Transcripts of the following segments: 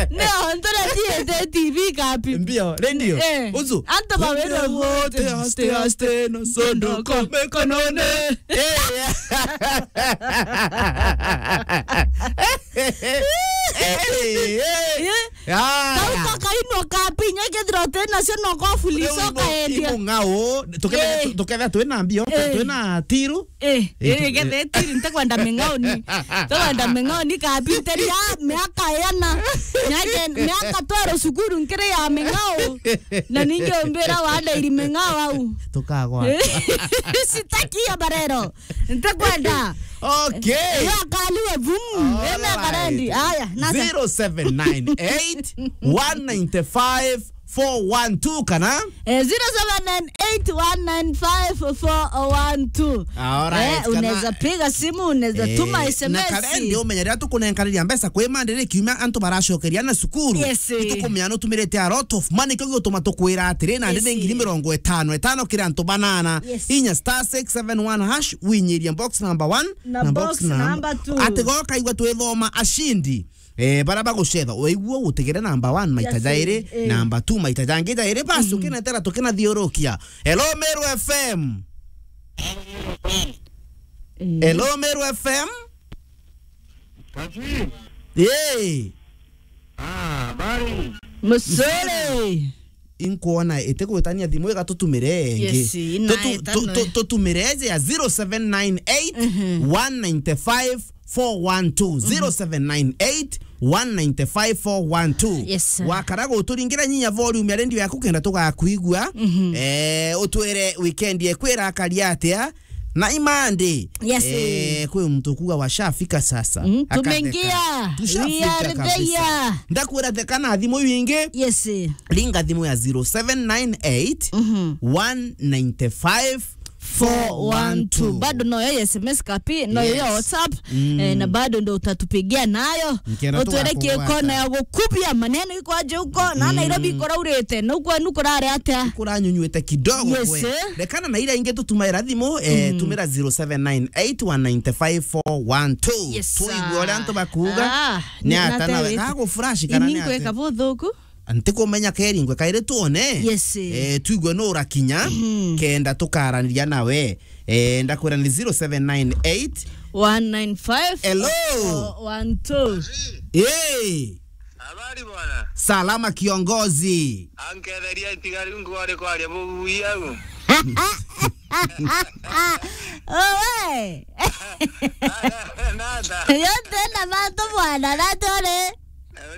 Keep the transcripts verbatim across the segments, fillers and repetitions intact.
Nio, ntore thiete T V kapi. Mbio, radio. Eh. Uzu. Antu bawirwe wote, aste, aste, no sondo ko mikonone. Eh, yeah. Eh, eh. Eh? Ya, kau ya. Kakainwa kapi, inya kethira uti nacio no kobuli icoka endia. Imung'ao, tukethira, eh, tukethira twina mbio, eh, twina tiru. Eh, eh, eh, tukethira tiru, ntikwenda ming'aoni. Ntikwenda ming'aoni kapi, nteria miaka yana. Miaka, miaka twero cukuru nkiri ya ming'ao. Na ningi umbira wandairi ming'ao au. Tukagwa. Sitaki hiyo barero. Ntikwenda. Okay. Iyo akaliwe, vum. All right. Eme akarendi. Aya, nasa. Zero seven nine eight, one nine five, four one two kana? Eh, zero seven nine eight, one nine five, four one two. All right, eh, kana unaweza piga simu, unaweza, eh, tuma S M S. Na karendi umenya riria tukunenkaniria mbeca kwi Monday ri kiumia antu baracokeria na cukuru. Yes, eh. Itukumenya nutumirite a lot of money, kio gigutuma tukwira atiri, na ndi, yes, ni ngiri mirongo itano itano kiri antu banana. Yes. Inya star six seven one hash, winyirie box number one na box number two. Ati goka igua twithoma ashindi. Eh, bara bagucetha, waigua utegere number one maita, yes, jairi, eh, number two maita jangi jairi, basi, mm, ukinetera tukinathiurukia. Hello, Meru F M. Eh. Hello, Meru F M. Kazi. Yee. Ah, habari. Musore. Inkwona itigwitania thimu iga tutumire ingi. Yes, ina. Tutu-, itano, tu-, tu-, eh, tutumire eje ya zero seven nine eight, mhm, one nine five, four one two. Mhm. Zero seven nine eight, one nine five, four one two. Yes, sir. Wakara guturingira nyinya volume ya radio yaku kenda tugakuigua. Mhm. Eh, utwire weekend yeku irakari atia? Na imandi. Yes, eh, eh, kwi muntu kuga washafika sasa. Mm, akatheka. Tumeingia. Tushafika kabisa. We are there. Ndakwira theka na thimu wingi. Yes. Ringa thimu ya zero seven nine eight, mhm, one nine five, four one two. Bado noyo ya S M S kapi, noyo ya, yes, WhatsApp, mm, eh, na bado ndo utatupigia nayo. Nkenda utwere tugakuwata. Kona ya gukubia maneno iko aje huko, na, mm, Nairobi kuraurite, na kwenu kurare atia? Kuranyunyuite kidogo, yes, kwe, eh. Rekana na ira ingi tutumaira thimu, eh, mm, tumira zero seven nine eight one nine five four one two. Yes, sir. Tuigue uria antu bakuuga. Ah, ni ata nawe? Nate wite. Gagufurashi kana ni ata? Ini nkweka buthuku. Ntikumenya keri ngwe kairi tuone. Yes. Eh, tuigue nu urakinya, mhm, kenda tukaraniria nawe. Eh, ndakwira ni zero seven nine eight. One nine five. Hello. Four one two. Eh. Habari bwana. Salama kiongozi. Anketheria itigari ngwari kwaria bubuya u. Owe. Nada. Yote na mantu bwana, natore.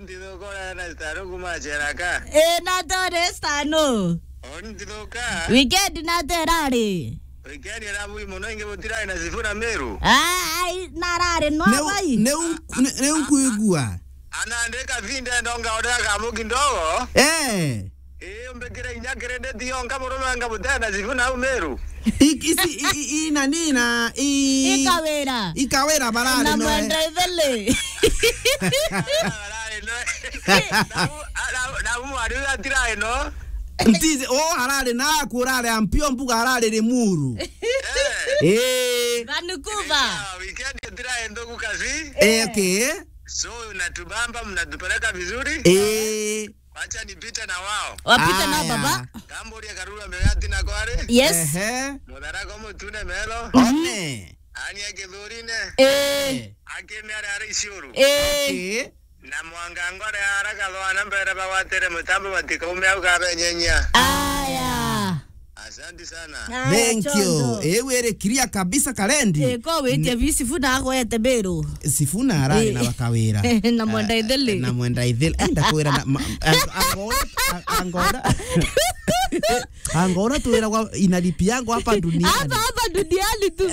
Ntithuka uria na Stano kuma Cheraka. Eh, natore Stano. Ntithuka. Weekend naterari. Weekend era bui muno ingi butirai na Sifuna Meru. Ah, ai, narari no bai. Neu, neu, neu nkuigua. Ana ndika vinde ndonga odera kamu kidogo. Eh. Eh, umbikire inya kirindi tionka murume anga butena Sifuna au Meru. I-, isi, i-, i-, i-, nani na, i-, Ikawira. Ikawira barari na noe. Mwenda ithele. Barari noe. Na u-, na u-, na u mwari uyu atira ino. Ntizi, o harari na aku urari Ampio mbuga harari Limuru. Eh. Eh. Vancouver. Ah, weekend atira ino ku kazi. Eh, okay. So, natubamba, mnatupeleka vizuri. Eh. Wacha nipite na wao. Wapite na, aya, baba. Kamburia Karura Megati na kware. Yes. Ehe. Mutharaka Mutune Melo. One. Ania Kithurine. Eh. Eh. Akime are are Isiuru. Eh. Okay. Na Mwanga Ngore ara Gathwana mbere bagwatere mutambo batikaume au kabenyenyia. Aya. Asante sana. Aya, thank you. Chonjo. Eh, were clear kabisa, Kalendi. Eh, ko witie bi Sifuna akwete Meru. Sifuna arari, eh, na bakawira. Na Mwenda Ithili. Eh, na Mwenda Ithili. Eh, ndakwira na, ma-, ang-, angora, ang-, angora. Angora twiragwa inalipi yangu hapa duniani. Hapa, hapa duniani tu.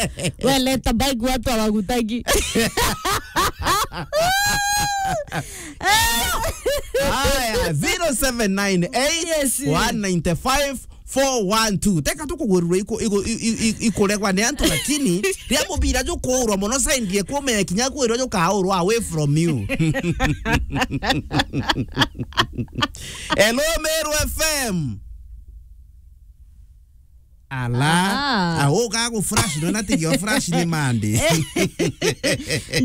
Weleta bike watu hawakutaki. Haya, zero seven nine eight, yes, one nine five, four one two. Teka tukugururwa iku-, iku-, i-, i-, i-, ikuregwa ni antu, lakini ria mubira jukuurwa muno saindie kumenya kinya kwirwa jukaurwa away from you. Hello, Meru F M. Ala. Ah. Ah, uga gu flash, no na tigio flash ni Monday.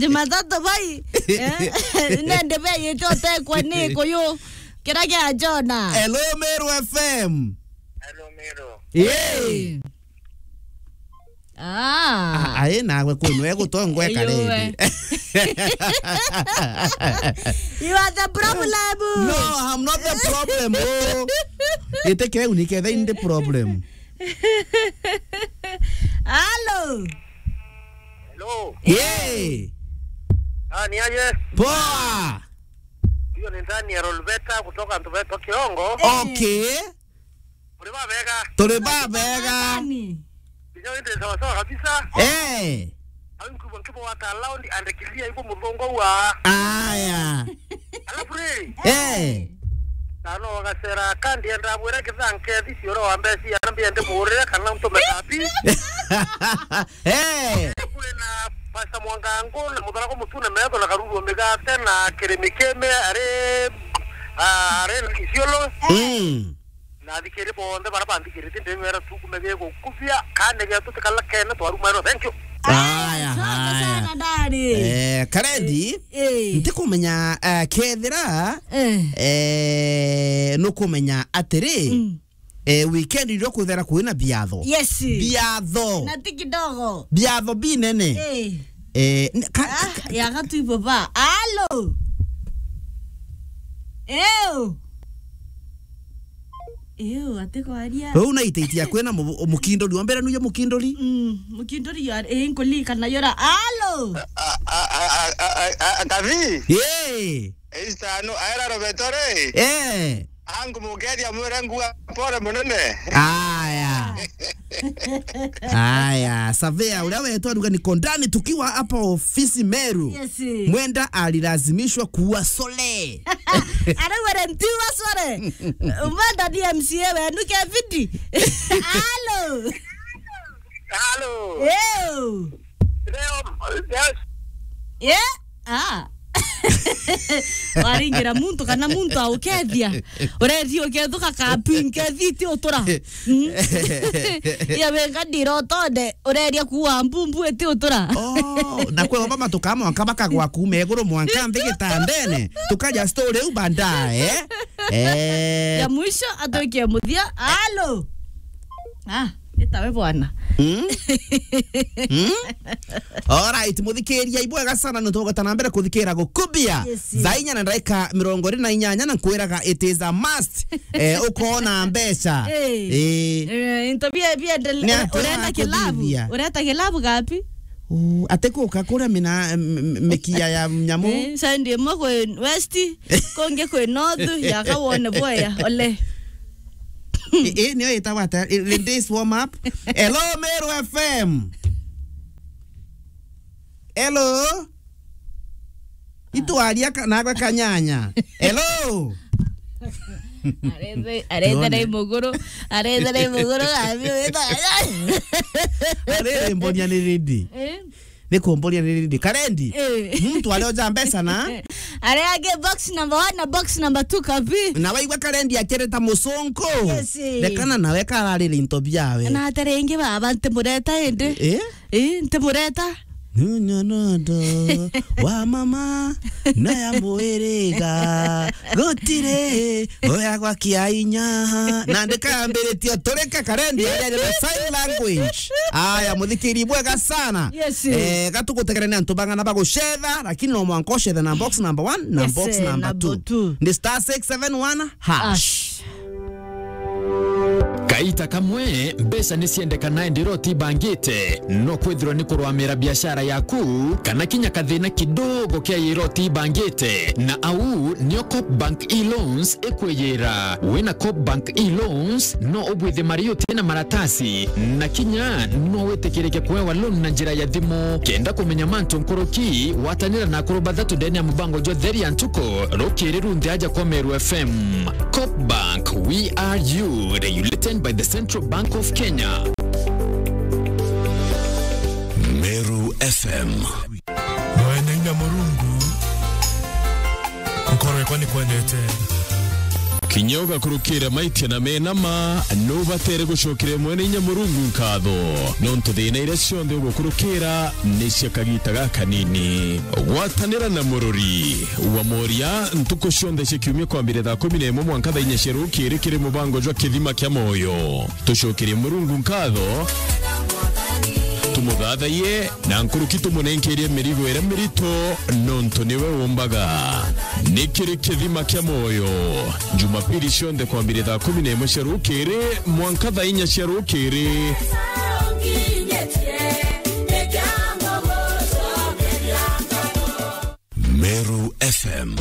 Jumatatu bai. Eh? Nende bai itotekwa ni kuyu. Kira kia Jona. Hello, Meru F M. Hello, Meru. Hey. Ah. Ah, ai, nagwe kwenu, egutongwe Iyuwe. Karindi. You are the problem. No, I'm not the problem. Oh. Ite keu ni ketha in the problem. Hello. Hello. Yeah. Ah, ni aje? Poa. Hiyo ni Daniel Olveta kutoka Ntuveto Kiongo. Okay. Muri babega. Turi babega. Nani? Ndio ndio sawa sawa kabisa. Eh. Au nkubo nkubo wa ta loud and clear iko muthongo wa. Aya. Alafu riri. Eh. Nano wagacera kandi enda bwira kithanke thisi oro wa mbesi ya mbia ndi murire kana ntume kabi. Eh. Kwina Pastor Mwangangu na Mutharako Mutune metho na Karuru Migate na Kirimi Kime ari, ah, ari Isiolo. Mm. Na athikiri bonthe bara banthikirite ndimera tukume gigukubia kane getu tikala kene twaruma ero. Thank you. Aya, asante haya. Sana, Dani. Eh, Karendi, eh, eh, ntikumenya, eh, kethira, eh, eh, nukumenya atiri, mm, eh, weekend irio kwithira kwina biatho. Yes. Biatho. Na ti kidogo. Biatho binene. Eh. Eh, n-, ka-, ah, ka-, ya gatu ibo ba. Alo. Eo. Ew, ati kwaria. Riu na iteiti ya kwina mu-, mukindori. Wa mbere nuye mukindori? Mm, mukindori yo, eh, nkulika na yora. Alo. A, a, a, Kabi? Yee. Eista no, aera Roberto ri? Eh. Angu mugeria mwire ngua pole munene. Aya. Aya, surveyor, uria wetwa ruga ni Kondani tukiwa hapa ofisi Meru. Yes. Mwenda alilazimishwa kuwa sole. Arauga ntiwa sore. Umwenda ni M C A wenu Kevidi. Alo. Alo. Ew. Leo, yes. Yeah. Ah. Waringira muntu kana muntu aukethia. Urethi ukethuka kapi nkethi ti utura. Mm. Ya wenga ndirotonde, ureria kuwa mbumbu iti utura. Oh, na kwe mama tukama mwanka bakagwa kuma iguru mwanka nthi gitandene. Tukaja story u baadaye, eh? Eh. Ya mwisho atwikie muthia. Alo. Ah, itawe bwana. Mm? Mm? Alright, muthikiria ibwega sana, nitugweta na mbere kuthikira gukubia. Yes. Thaa inya na ndagika mirongo iri na inyanya, na nkwiraga it is a must. Eh, ukona mbeca. Eh. Eh. Eh, into bia, bia ndel-, ni ati urenda kilabu. Urenda kilabu gapi? Uh, ati kuka kuria mina, m-, m-, mikia ya nyamu. Eh, side imwe kwi west, kungi kwi north, ya kawone boya, ole. Eh, eh, niyo itagwa ata? Eh, in this warm up. Hello, Meru F M. Hello. Itwaria ka-, nagwe kanyanya. Hello. Arethe, arethe na imuguru, arethe na imuguru, abi wita. Arere mbonia ni rindi. Eh? Ni kumbonia ni rindi. Karendi. Eh. Muntu aria oja mbeca na? Aria angi box number one na box number two kabi. Na waigua Karendi akireta mucunku. Yes. Rekana nawe kararire into biawe. Na atere ingi baba ntimureta indi. Eh? Eh, ntimureta. Nunyonondo wa mama na ya mwiriga gutiri oya gwa kiainya. Na ndikambiritie turike Karendi ya sign language. Aya, muthikiri bwega sana. Yes. Eh, gatugutegerania antu bang'ana bagucetha, lakini no mwanka ucethe na box number one na, yes, box, eh, number, number two. Two. Ndi star six seven one hash. Hash. Kaita kamwe, mbeca ni ciendekana indi iro ti bangite. No kwithirwa ni kurwamira biashara yaku, kana kinya kathina kidogo kia iro ti bangite. Na au nio Coop Bank e-loans ikwiyira. Wina Coop Bank e-loans, no ubwithie mari uti na maratasi. Na kinya no witikirike kuewa loan na njira ya thimu. Kenda kumenya mantu nkuruki, watanira na akuru bathatu ndene ya mubango jwa Theri ya Ntuku, rukiri runthe aja kwa Meru F M. Coop Bank, we are you, regulated by the Central Bank of Kenya. Meru F M. Mwene inya Murungu, nkoro yakwa ni kwendete. Kinya ugakurukira maitia na mena ma, nubatere gucokeria Mwene Inya Murungu nkatho, nontu thina iria cionthe ugukurukira ni cia kagita gakanini. Gwatanira na murori wa Moria ntuku cionthe cia kiumia kwambire thaa kumi na imwe mwanka thaa inya cia rukiri kiri mubango jwa Kithima kia Moyo. Tucokerie Murungu nkatho, tumuthathaiye, na nkuruki tumunenkerie mirigo iria mirito, nontu niwe umbaga. Ni kiri Kithima kia Moyo, Jumapili cionthe kwambire thaa kumi na imwe cia rukiri mwanka thaa inya cia rukiri. Meru F M.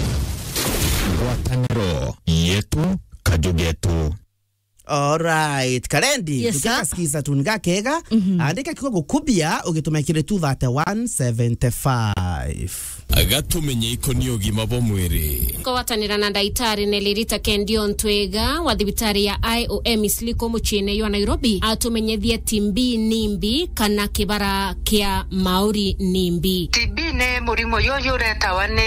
Ngwataniro yetu, kaju getu. Alright, Karendi, yes, sir, tukasikiza tuni gakega, mhm, andika kiugo gukubia, ugitume kiri two thirty one seventy five. Gatumenye ikoni ugima bwa mwiri. Kugwatanira na ndaitari Nelly Rita Kendi Ontwega wa thibitari ya I O M Isliko muciine jwa Nairobi, atumenyethie T B ni mbi kana kibara kia mauri ni mbi. T B ni murimo juju uretawa ni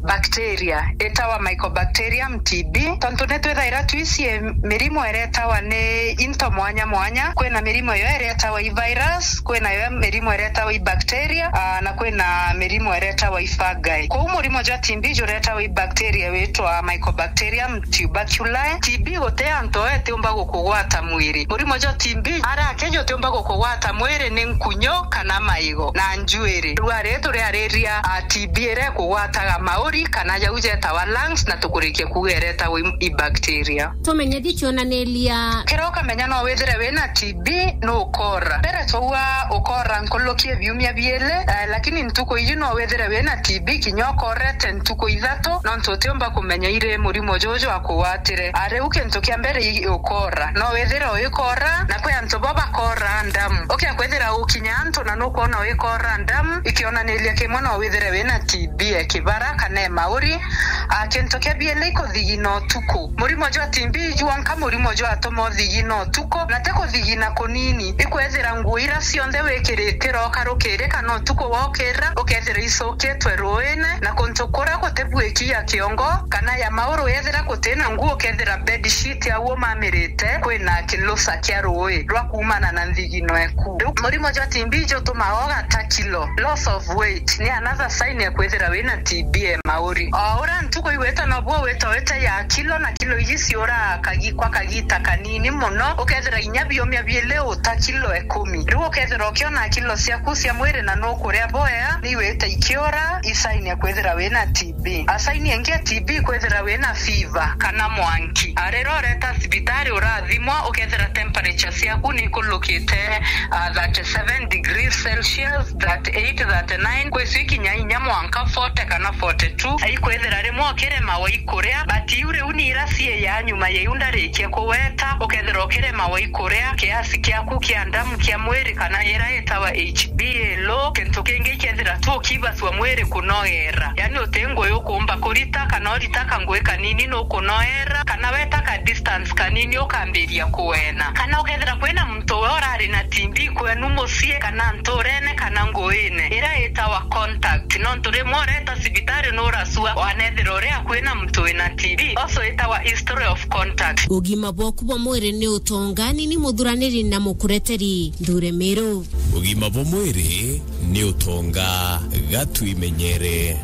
bacteria itawa Mycobacterium T B, tontu ni twithaira twicie mirimo iretawa ni into mwanya mwanya. Kwina mirimo iyo iretawa i virus, kwina yo mirimo iretawa i bacteria, aa, na kwina mirimo iretawa i fungi. Kwou murimo jwa T B juretawa i bacteria witwa Mycobacterium tuberculosis. T B guti antu itiumba gukugwata mwiri. Murimo jwa T B ara akeja utiumba gukugwata mwiri ni nkunyo kana maigo na njuiri. Riu ari turiariria, a, T B iria ikugwataga mauri kana jau jetawa lungs, na tukurikia kuuga iretawa i, i bacteria. Tumenyethie kionaniria. Kiria ukamenya no withire wina T B, ni ukora. Mbere twaua ukora nkuruki biumia biiri, eh, lakini ntuku iji no withire wina T B kinya ukorete ntuku ithatu, nontu utiumba kumenya iri murimo juju akugwatire. A, riu kintu kia mbere i ukora. No withire uikora, na kwi antu bo bakora ndamu. Ukia kwithira ukinya antu na nukwona uikora ndamu, ikionaniria kimwe no withire wina T B e kibara kana e mauri. A, kintu kia biiri ikuthigina utuku. Murimo jwa T B jwanka murimo jwatuma uthigina utuku, na ti kuthigina kunini. Ikwethira nguo ira cionthe wikirite iroka rukiri kana utuku wokira, ukethira icukitwe ruine, na kuntu kuria gutibuiki ya kiongo kana ya mauru, yethira gutina nguo, ukethira bedsheet au umamirite, kwina kilusa kia rui rwa kuumana na nthigino eku. Riu murimo jwa T B jutumaga ugata kilo, loss of weight, ni another sign ya kwithira wina T B e mauri. O uria ntuku igwita nobuo wita wita ya kilo, na kilo iji ciuraga kagi-, kwa kagita kanini muno, ukethira inya biumia biiri uta kilo ikumi. Riu ukethira ukiona kilo ciaku cia mwiri na nukuria bwega, ni wita ikiura, i sign ya kwithira wina T B. A, sign ingi ya T B kwithira wina fever kana mwanki. A, riria ureta cibitari urathimwa, ukethira temperature ciaku ni ikulukite, a, thirty seven degrees Celsius, thirty eight, thirty nine, kwi cio ikinya inya mwanka forty kana forty two. Ikwithira rimwe ukiremawa ikuria, but iu riu ni ira cii ya nyuma ya iu ndarikia kuweta, ukethira ukiremawa ikuria, kiasi kiaku kia ndamu kia mwiri kana ira itawa H B A low. Kintu kingi ikethira tu ukibacua mwiri kunoera, yani uti ngugi ukumba kurita kana urita kangui kanini nukunoera, kana weta ka distance kanini ukambiria kuena, kana ukethira kwina muntu we urari na T B kwenu mucii kana nturene kana nguine ira itawa contact, nontu rimwe ureta cibitari nuracua wanethira uri akui na muntu wina T B, also itawa history of contact. Ugima bwaku bwa mwiri ni utonga, ni ni muthuraniri na mukureteri Nthure Miru. Ugima bwa mwiri ni utonga, gatwimenyere.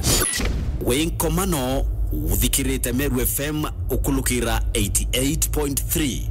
Wi nkomano, uthikirite Meru F M ukulukira eighty eight point three.